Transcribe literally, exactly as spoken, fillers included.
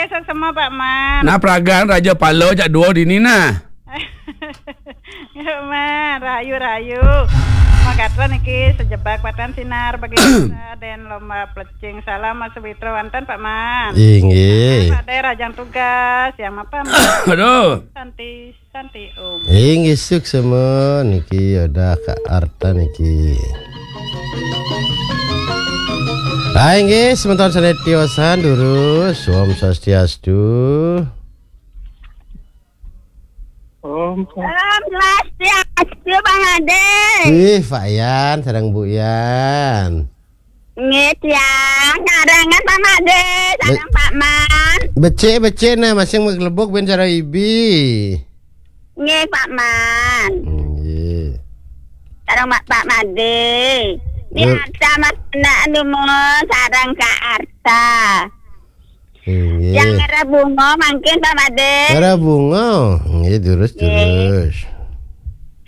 Sesama Pak Man. Nah, pragan Raja Palo jak dua dini nah. Ya, Man, rahayu, rahayu. Magatra niki sejebak patan sinar bagi dan lomba plecing salam Mas Witro wonten Pak Man. Inggih. Pada rajang tugas yang apa? Aduh. Santi, Santi Om. Inggih, suksema niki ada Kak Arta niki. Ah, inggih, semeton sané tiosan durus, Om Swastiastu. Om Swastiastu, Bang Ade. Wih, Pak Yan, sareng Bu Yan. Nggih, tiang. Karangan Pak Made, sareng Pak Man. Becik-becik nah, masing maglebuk ben cara ibi. Nggih, Pak Man. Nggih. Sareng Pak, Pak Made. Nggih. Arta Mas Anak Dumun, sareng Kak Arta. Nggih. Yang merah bunga mangkin Pak Made. Merah bunga. Nggih, durus, nggih, durus.